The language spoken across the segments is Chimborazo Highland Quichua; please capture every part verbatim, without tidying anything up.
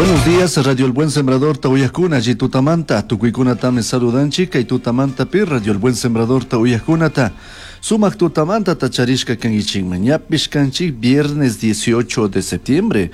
Buenos días, Radio El Buen Sembrador ta uyajcuna, tutamanta, tucuicunatami saludanchik, kay tutamanta pi Radio El Buen Sembrador ta uyajcunata. Sumak tutamanta tacharishka kangichikman, ñapish kanchik viernes dieciocho de septiembre,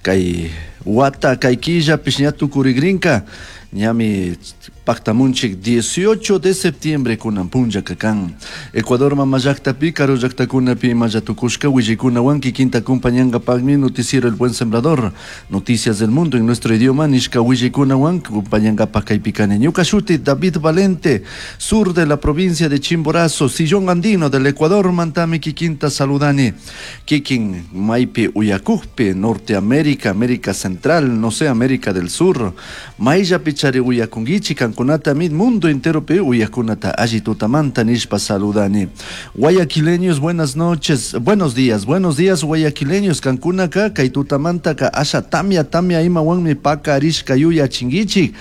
kay wata kay killapish ña tukurigrinka, ñami pactamunchik dieciocho de septiembre kunan punlla kakan. Ecuador mama llaktapi, karu llaktakunapi imalla tukushka willaykunawan kikinta acompañangapakmi noticiero El Buen Sembrador, noticias del mundo en nuestro idioma nishka willaykunawan acompañangapak kaypi kani. Ñuka shuti David Valente, sur de la provincia de Chimborazo, sillón andino del Ecuador, mantami kikinta saludani. Kikin maypi uyakukpi, Norteamérica, América Central, no sé, América del Sur, mayllapi chari uyakunkichik, kankunata mit mundo entero pe uyakunata alli tutamanta nishpa saludani. Guayaquileños, buenas noches, buenos días, buenos días guayaquileños, kankunaka kay tutamantaka asha tamia tamia imawanmi pakarishka yuyachinkichik.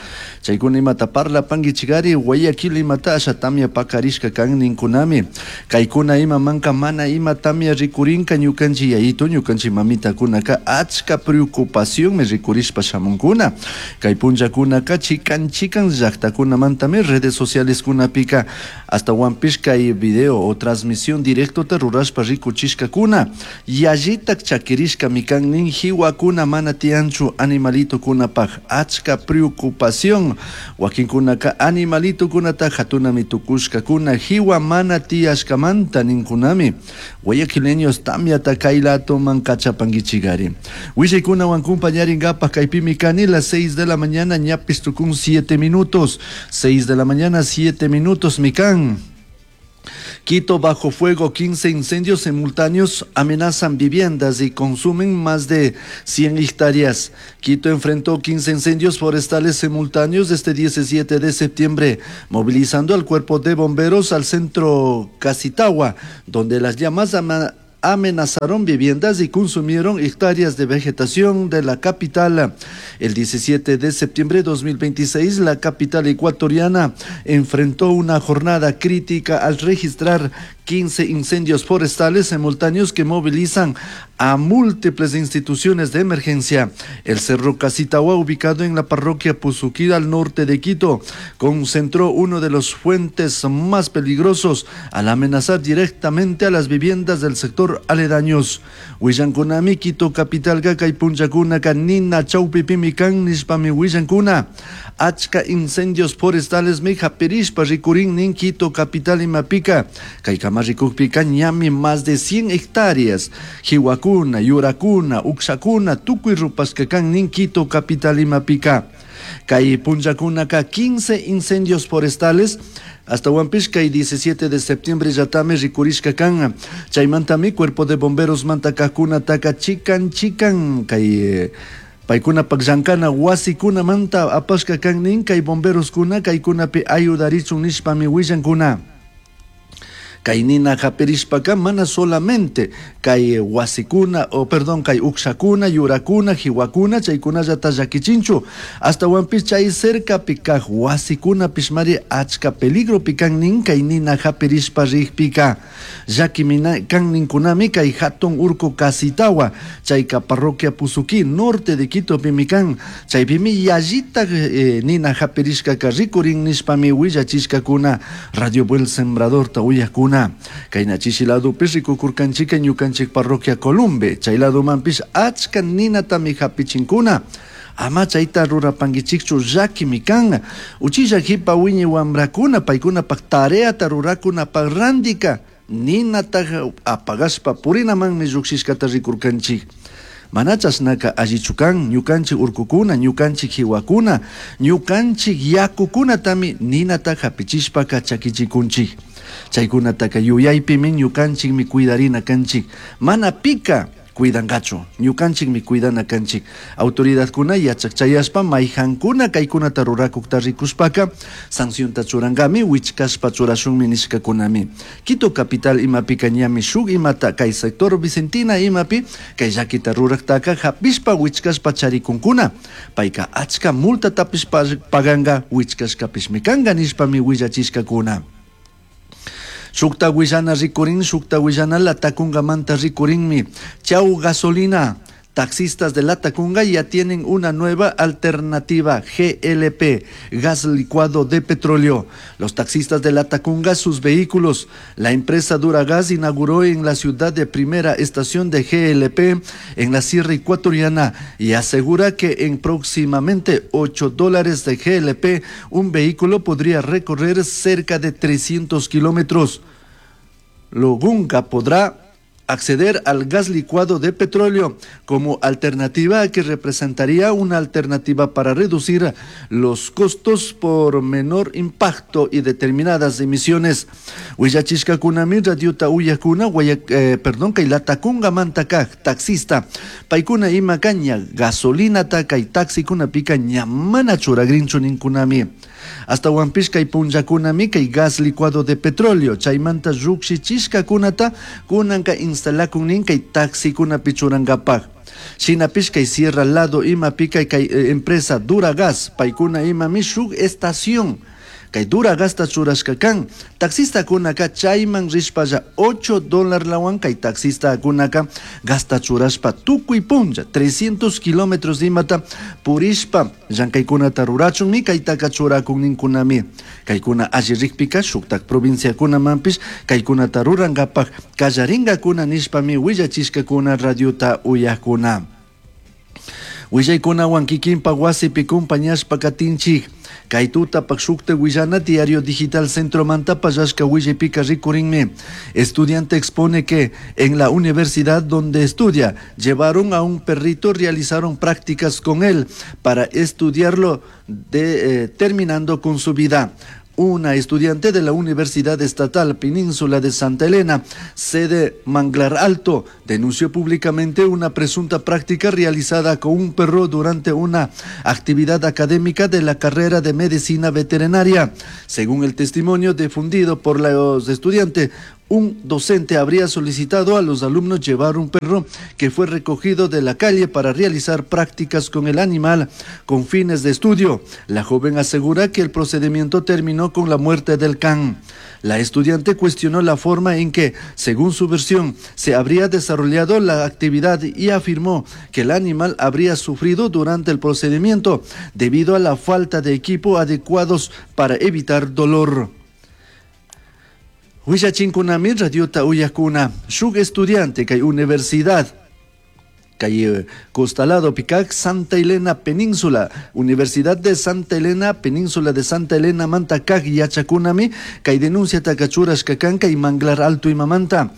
Chaykuna imata parlapankichikari Guayaquil imata asha tamia pakarishka kan ninkunami. Kaykuna ima manka mana ima tamia rikurinka ñukanchik yayito ñukanchik mamitakunaka achka preocupación me rikurishpa shamunkuna. Kay punllakunaka chikan chikan llaktakunamantami redes sociales kunapika hasta wampish kay video o transmisión directo ta rurashpa rikuchishkakuna. Yallitak chakirishka mikan nin hiwakuna mana tiyanchu animalito kunapaj achka preocupación. Wakinkunaka animalito kunata hatunami tukushkakuna hiwa mana tiyashkamanta ninkunami. Guayaquileños tamyata kaylato man kachapankichikari. Willaykunawan compañarinkapak kaypimi kani las seis de la mañana ñapis tukun siete minutos. seis de la mañana, siete minutos, mikan. Quito bajo fuego, quince incendios simultáneos amenazan viviendas y consumen más de cien hectáreas. Quito enfrentó quince incendios forestales simultáneos este diecisiete de septiembre, movilizando al cuerpo de bomberos al centro Casitagua, donde las llamas ama-, amenazaron viviendas y consumieron hectáreas de vegetación de la capital. El diecisiete de septiembre de dos mil veintiséis, la capital ecuatoriana enfrentó una jornada crítica al registrar quince incendios forestales simultáneos que movilizan a múltiples instituciones de emergencia. El Cerro Casitagua, ubicado en la parroquia Pusuquí, al norte de Quito, concentró uno de los fuentes más peligrosos al amenazar directamente a las viviendas del sector aledaños. Willankunami, Quito capital kay punllakunaka nina chawpipimi kan nishpami willankuna. Achka incendios forestales mi hapirishpa rikurin nin Quito capital imapika. Kay kamarikukpika ñami más de cien hectáreas. Hiwakuna, yurakuna, uksakuna, tukuy rupashka kan nin Quito capital imapika. Kay punllakunaka quince incendios forestales. Hasta Huampishka y diecisiete de septiembre yatame rikurishka kan. Chaymantami cuerpo de bomberos mantakakuna taka chikan chikan. Kay, eh, paykuna pakllankana wasikuna manta apashka kan nin kay bomberos kuna kaykunapi ayudarichun nishpami willankuna. Kay nina hapirishpaka mana solamente kay wasikuna, o perdón, kay ukshakuna, yurakuna, hiwakuna, chaykunallata llakichinchu. Hasta wampis chay cerca pikaj wasikuna pishmari achka peligro pikan nin kay nina hapirishpa rikpika. Llakimina kan ninkunami kay hatun urku Casitagua, chayka parroquia Pusuquí, norte de Quito pimikan. Chaypimi yallita, eh, nina hapirishkaka rikurin nishpami willachishkakuna. Radio Buen Sembrador ta uyakuna. Kayna chishi ladopish rikukurkanchika ñukanchik parroquia Columbe, chay ladomanpish achka ninatami hapichinkuna. Ama chayta rurapankichikchu llakimi kan. Uchilla hipa wiñi wamrakuna paykunapak tareata rurakunapak randika ninata apagashpa purinamanmi llukshishkata rikurkanchik. Mana chashnaka allichu kan ñukanchik urkukuna, ñukanchik hiwakuna, ñukanchik yakukunatami ninata hapichishpaka chakichikunchik. Chaykunataka yuyaypimi ñukanchikmi cuidarina kanchik. Mana pika cuidangachu, ñukanchikmi cuidana kanchik. Autoridadkuna yachak chayashpa mayhankuna kaykunata rurakukta rikushpaka sancionta churankami, wichkashpa churashunmi nishkakunami. Quito capital imapika ñami shuk imata kay sector Vicentina imapi kay llakita ruraktaka hapishpa wichkashpa charikunkuna. Payka achka multatapish paganka wichkashkapishmi kanka nishpami willachishkakuna. Shukta willana rikurin, shukta willana latakungamanta rikurinmi. Chau gasolina. Taxistas de Latacunga ya tienen una nueva alternativa, G L P, gas licuado de petróleo. Los taxistas de Latacunga, sus vehículos. La empresa Duragas inauguró en la ciudad de primera estación de G L P en la Sierra Ecuatoriana y asegura que en próximamente ocho dólares de G L P un vehículo podría recorrer cerca de trescientos kilómetros. Logunga podrá acceder al gas licuado de petróleo como alternativa que representaría una alternativa para reducir los costos por menor impacto y determinadas emisiones. Huillachishka kunami radiota uyakuna, guaya, eh, perdón, kay Latacunga mantaka taxista, paikuna ima caña gasolina taka y taxi kuna pica ñamana churagrinchu ninkunami. Hasta huampishka y punllakunami kay gas licuado de petróleo, chaymanta llukshichishka kunata kunanka instalakunin kay taxi kuna pichurangapak. Shinapish kay Sierra lado ima pica kay, eh, empresa Duragas, paikuna ima mishuk estación. Kay Duragasta churashka kan, taxista kunaka chayman rishpalla ocho dólar lawan kay taxista kunaka gasta churashpa tukuy punlla trescientos kilómetros imata purishpa llankaykunata rurachunmi kaytaka churakunninkunami. Kaykuna alli rikpika shuktak provinciakunamanpish kaykunata rurankapak kallaringakuna nishpami willachishkakuna radiota uyakuna. Willaykunawan kikinpa wasipi kumpañashpa katinchik. Kay tutapak shukta willana Diario Digital Centro Manta pallashka willaypika rikurinmi. Estudiante expone que en la universidad donde estudia llevaron a un perrito, realizaron prácticas con él para estudiarlo de, eh, terminando con su vida. Una estudiante de la Universidad Estatal Península de Santa Elena, sede Manglar Alto, denunció públicamente una presunta práctica realizada con un perro durante una actividad académica de la carrera de medicina veterinaria. Según el testimonio difundido por los estudiantes, un docente habría solicitado a los alumnos llevar un perro que fue recogido de la calle para realizar prácticas con el animal con fines de estudio. La joven asegura que el procedimiento terminó con la muerte del can. La estudiante cuestionó la forma en que, según su versión, se habría desarrollado la actividad y afirmó que el animal habría sufrido durante el procedimiento debido a la falta de equipo adecuados para evitar dolor. Huillachinkunami radiota uyakuna, shuk estudiante kay universidad kay Costalado Picac, Santa Elena Península, Universidad de Santa Elena, Península de Santa Elena, Manta Kak, Yachakunami, kay denuncia takachuras kakan, kay Manglar Alto y Mamanta.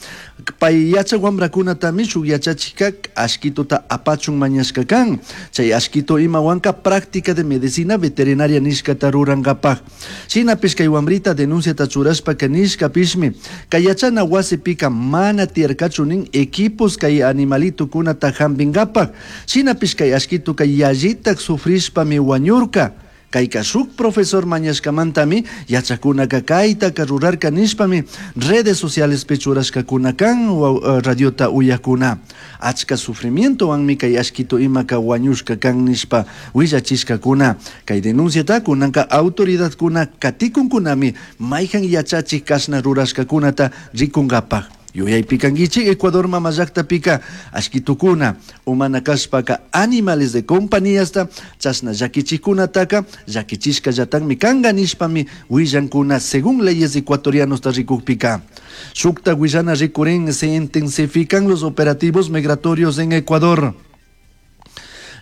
Pay yacha wambrakuna tami shuk yachachikak, ashkitota apachun mañashkakan. Chay ashkito imawanka práctica de medicina veterinaria nishkata rurangapak. Shinapish kay wambrita denuncia tachurashpa ka nishka pishmi. Kay yachana wasi pika mana tierkachunin equipos kay animalito kunata hambingapak. Shinapish kay ashkito kay yallitak sufrishpami wañurka. Kayka shuk profesor mañashkamantami yachakunaka kaytaka rurarka nishpami redes sociales pechurashkakuna kan wa, radiota uyakuna. Achka sufrimientowanmi kay ashkito imaka wañushka kan nishpa willachishkakuna. Kay denunciata kunanka autoridadkuna katikunkunami mayhan yachachik kashna rurashkakunata rikunkapak. Yuyaypikankichik Ecuador mama llaqtapika ashkitukuna umana kashpaka animales de compañíasta chashna llakichikkunataka llakichishkallatakmi kanka nishpami willankuna según leyes ecuatorianos rikukpika. Shukta willana rikurin se intensifican los operativos migratorios en Ecuador.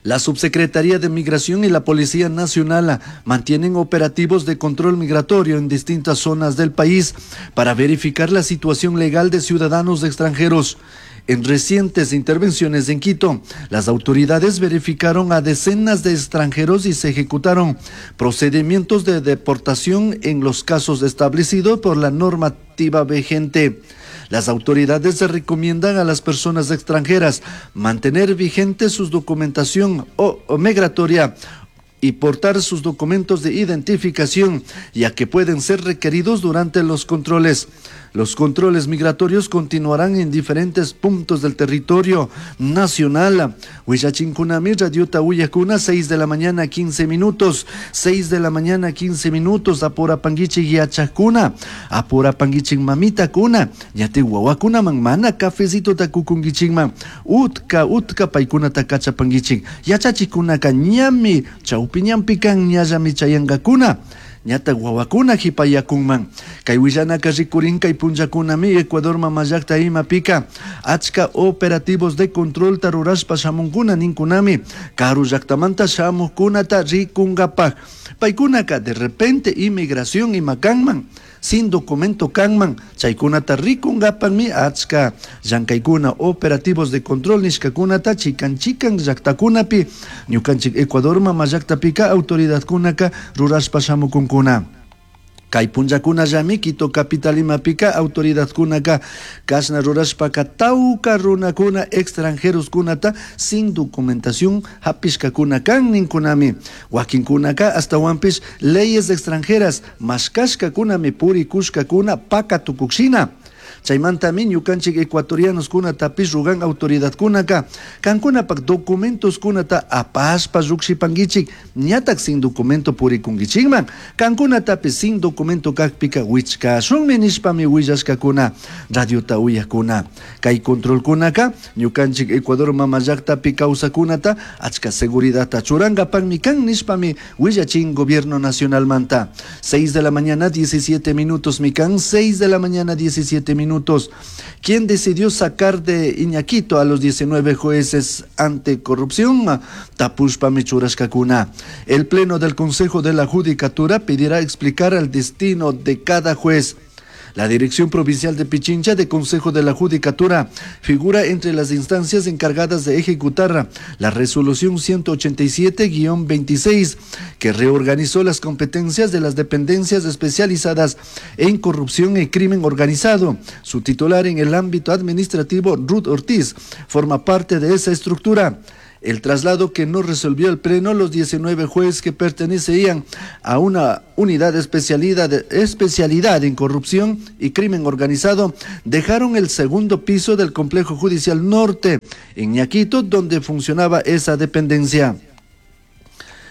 La Subsecretaría de Migración y la Policía Nacional mantienen operativos de control migratorio en distintas zonas del país para verificar la situación legal de ciudadanos extranjeros. En recientes intervenciones en Quito, las autoridades verificaron a decenas de extranjeros y se ejecutaron procedimientos de deportación en los casos establecidos por la normativa vigente. Las autoridades recomiendan a las personas extranjeras mantener vigente su documentación o, o migratoria y portar sus documentos de identificación, ya que pueden ser requeridos durante los controles. Los controles migratorios continuarán en diferentes puntos del territorio nacional. Huillachinkunami radiota uyakuna, seis de la mañana quince minutos, seis de la mañana quince minutos, apurapanguichik yachakuna, apurapanguichik mamitakuna, ñati wawakunaman mana cafecito kukunguichikman, utka utka paykunata kachapanguichik, yachachikunaka ñami chawpi ñanpi kan ñallami chayankakuna. Ñata wawakuna hipayakunman. Kay willanaka rikurin kay punllakunami Ecuador mamallakta imapika achka operativos de control ta rurashpa shamunkuna ninkunami karu llaktamanta shamukunata rikunkapak. Paykunaka de repente inmigración ima kanman, sin documento kanman, chaykunata rikunkapakmi achka llankaykuna operativos de control nishkakunata chikan chikan llaktakunapi ñukanchik Ecuador mamallaktapika autoridadkunaka rurashpa shamukunkuna. Kay punllakunallami Quito capital imapika autoridadkunaka kashna rurashpaka tawka runakuna extranjeroskunata sin documentación hapishkakuna kan ninkunami. Wakinkunaka astawanpish leyes extranjeras mashkashkakunami purikushkakuna pakatukushina. Chaymantami ñukanchik ecuatorianos kunatapish rugan autoridadkunaka kankunapak documentos kunata apashpa llukshipankichik ñatak sin documento purikunkichikman kankunatapish sin documento kakpika wichkashunmi nishpami willashkakuna radiota uyakuna. Kay controlkunaka ñukanchik Ecuador mamallaktapi kawsakunata achka seguridadta churankapakmi kan nishpami willachin gobierno nacionalmanta. seis de la mañana diecisiete minutos mi kan, seis de la mañana diecisiete minutos. ¿Quién decidió sacar de Iñaquito a los diecinueve jueces anticorrupción? Tapushpa michurashkakuna. El Pleno del Consejo de la Judicatura pedirá explicar el destino de cada juez. La Dirección Provincial de Pichincha de Consejo de la Judicatura figura entre las instancias encargadas de ejecutar la Resolución ciento ochenta y siete guion veintiséis, que reorganizó las competencias de las dependencias especializadas en corrupción y crimen organizado. Su titular en el ámbito administrativo, Ruth Ortiz, forma parte de esa estructura. El traslado que no resolvió el Pleno, los diecinueve jueces que pertenecían a una unidad de especialidad, especialidad en corrupción y crimen organizado, dejaron el segundo piso del Complejo Judicial Norte, en Iñaquito, donde funcionaba esa dependencia.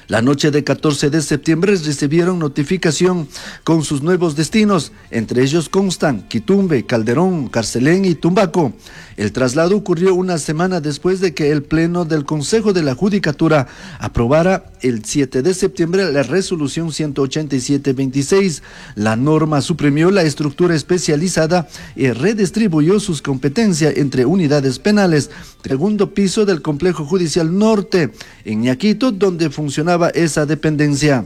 La noche de catorce de septiembre recibieron notificación con sus nuevos destinos, entre ellos constan Quitumbe, Calderón, Carcelén y Tumbaco. El traslado ocurrió una semana después de que el Pleno del Consejo de la Judicatura aprobara el siete de septiembre la Resolución ciento ochenta y siete veintiséis. La norma suprimió la estructura especializada y redistribuyó sus competencias entre unidades penales. Segundo piso del Complejo Judicial Norte, en Iñaquito, donde funcionaba esa dependencia.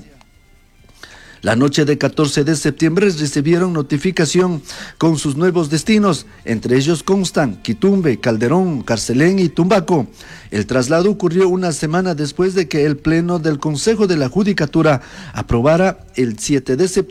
La noche de catorce de septiembre recibieron notificación con sus nuevos destinos, entre ellos constan Quitumbe, Calderón, Carcelén y Tumbaco. El traslado ocurrió una semana después de que el Pleno del Consejo de la Judicatura aprobara el siete de septiembre